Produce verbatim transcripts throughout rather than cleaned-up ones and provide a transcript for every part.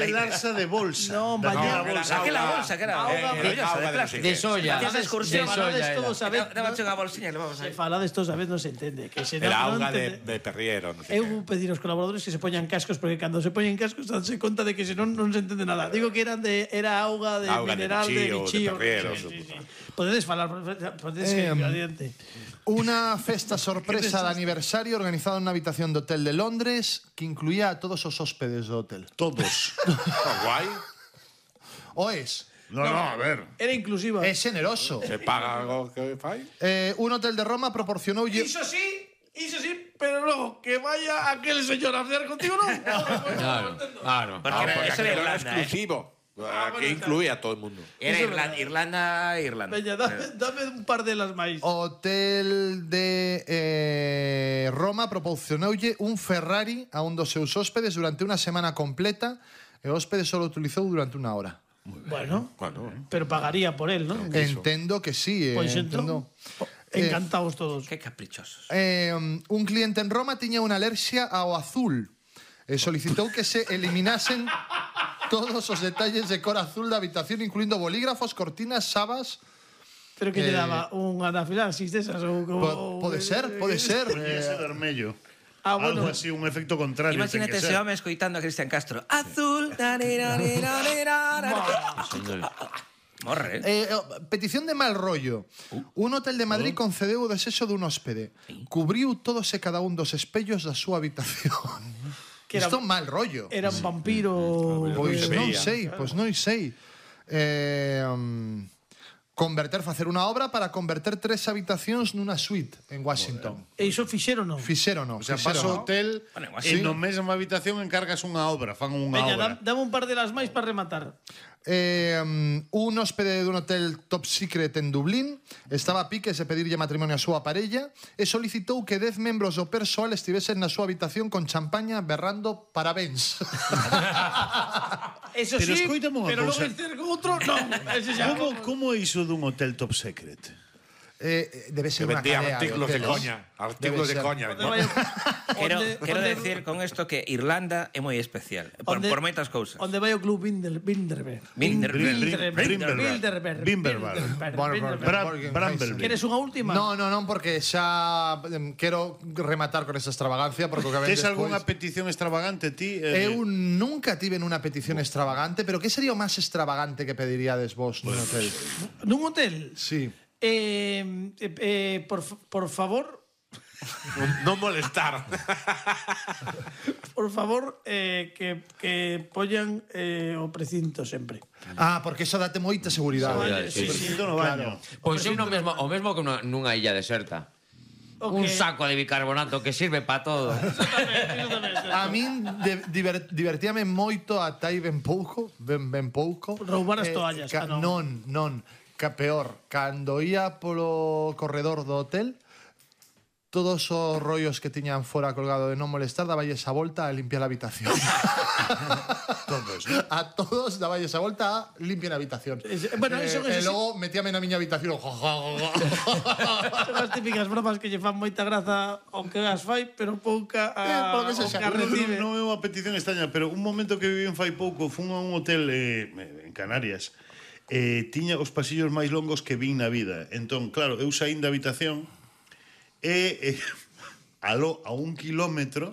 de Larsa de bolsa. No, Daquela vaya. bolsa. Aquela bolsa que era maravillosa, de plástico. De soya. Facías De excursión. soya todos a ver. Daba unha bolsiña e levabas Se aí. falades todos a vez non se entende. Que se Era non auga de, entende. de perriero, non sei Eu vou pedir aos colaboradores que se poñan cascos porque cando se poñen cascos danse conta de que se non non se entende nada. Digo que eran de era auga de Auga de mineral de bichío, bichío. de perriero, Sí, sí, sí. suposo. Podedes falar, podedes Eh, seguir adiante. Una festa sorpresa de aniversario organizada en una habitación de hotel de Londres que incluía a todos os hóspedes do hotel. Todos. que. Guai. O es, No, no, a ver. Era inclusiva. é generoso. Se paga algo que fai. Eh, un hotel de Roma proporcionoulle Iso sí, iso sí, pero logo que vaya aquel señor a cear contigo non. Claro, claro. Porque Ah, era- porque eso era aquilo era Irlanda, eh. exclusivo. Aquí incluía a todo el mundo. Era Iso é Irlanda, Irlanda, Irlanda. Veña, dame, dame un par de las máis. Hotel de eh, Roma proporcionoulle un Ferrari a un dos seus hóspedes durante unha semana completa e o hóspede só o utilizou durante unha hora. Bueno, Bueno, pero pagaría por él, ¿no? Entendo que sí, eh, Pois entendo. entón, encantados todos. Qué caprichosos. Eh, un cliente en Roma tiña unha alerxia ao azul e solicitou que se eliminasen todos os detalles de cor azul da habitación, incluindo bolígrafos, cortinas, sabas. Pero que lle Eh, daba un anafilaxis desas ou como... Po- pode ser, pode ser. Ese eh, vermello. Ah, bueno. Algo así, un efecto contrario. Imagínate ten que ese ser. home escoitando a Cristian Castro. Azul. Morre. Eh, eh, petición de mal rollo. Un hotel de Madrid concedeu o desexo dun hóspede. Cubriu todos e cada un dos espellos da súa habitación. Que era- Isto mal rollo. Era un vampiro... Pois eh, non veía. sei, pois non sei. Eh, um, converter, facer unha obra para converter tres habitacións nunha suite en Washington. E iso fixeron non? Fixeron, non? O sea, fixeron, paso non? hotel Bueno, e sí. no mesma habitación encargas unha obra, fan unha Veña, obra. dam- dame un par de las máis para rematar. Eh, um, un hóspede dun hotel top secret en Dublín estaba a piques de pedirlle matrimonio a súa parella e solicitou que dez membros do persoal estivesen na súa habitación con champaña berrando parabéns. Eso Pero sí, escoítame unha pero cousa. logo dicir con outro, non. Ese xa. Como, como é iso dun hotel top secret? eh, debe Se ser unha vendía cadea artículos de hoteles. coña. Artículos de Debe ser. coña. Onde vai- Quero, onde- quero onde- decir con esto que Irlanda é moi especial. Por, onde- por moitas cousas. Onde vai o club Binder, Binderberg? Binder- Brimberberg. Brimberberg. Bueno, Bra- Borgen- Brambleby. Queres unha última? No, no, non, porque xa em, quero rematar con esa extravagancia porque o que ven Tes despois... algunha petición extravagante ti? Eh, Eu nunca tive nunha petición extravagante, pero que sería o máis extravagante que pediríades vos nun hotel? Nun hotel? Sí. Eh, eh, eh, por, fa- por favor, Non molestar. por favor, eh, que, que pollan eh, o precinto sempre. Ah, porque eso date moita seguridade. Vale, sí, sí, Precinto no baño. Pois é o mesmo, o mesmo que nunha, nunha illa deserta. O Un que- saco de bicarbonato que sirve para todo. A min de, diver, divertíame moito ata aí ben pouco, ben, ben pouco. Roubar as toallas, ca, ah, non. non, non, ca peor, cando ia polo corredor do hotel, todos os rollos que tiñan fora colgado de non molestar daballes a volta a limpiar a habitación. Todos, A todos daballes a volta a limpiar a habitación. Ese- bueno, eh, eso- e eso sí. logo metíame na miña habitación. Son as típicas bromas que lle fan moita graza ao que as fai, pero pouca Eh, a, polo que ao sexa. que a recibe. Non é unha petición extraña, pero un momento que viví en fai pouco, fun a un hotel eh, en Canarias. Eh, tiña os pasillos máis longos que vin na vida. Entón, claro, eu saín da habitación e eh, aló a un kilómetro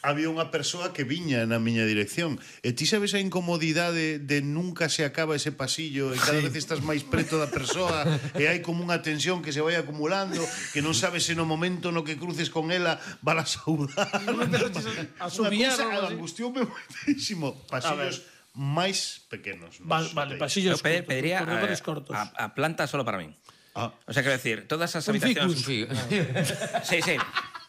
había unha persoa que viña na miña dirección. E ti sabes a incomodidade de nunca se acaba ese pasillo e cada vez estás máis preto da persoa e hai como unha tensión que se vai acumulando, que non sabes se no momento no que cruces con ela van a saudar. A subiar, Unha cousa, algo así. angustioume moitísimo. Pasillos máis pequenos. nos Vale, vale, hotéis. pasillos Yo pe- cortos, pediría corredores eh, cortos. a, a planta solo para min. Ah. O sea, quero decir, todas as Un habitacións... ficus. Sí, sí.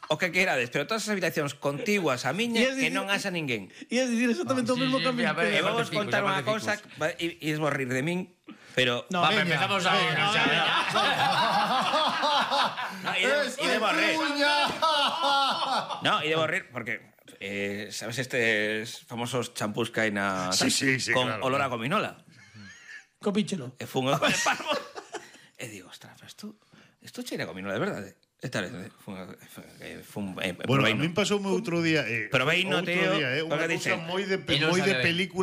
O que queirades, pero todas as habitacións contiguas a miña Y es que dicir- non haxa ninguén. E é dicir exactamente o Sí, mesmo sí, que a mí. a ver, E Aparte vamos ficus, contar unha aparte cousa ficus. va- e e vos rir de min, pero No, Va, veña, empezamos a ver. veña, o sea, no, e de- e debo rir. No, e debo rir porque eh, sabes estes famosos champús que hai na Sí, sí, sí, con claro, olor a claro. gominola. Copíchelo. E fun ao de Parvo. E digo, ostras, pero isto isto cheira a gominola de verdade. Esta vez eh, fun, a- eh, fun eh, Bueno, a proveino. min pasoume outro día, eh, Pero veino, outro tío, día, eh, unha porque cousa dice- moi de E non moi de sabe ben. película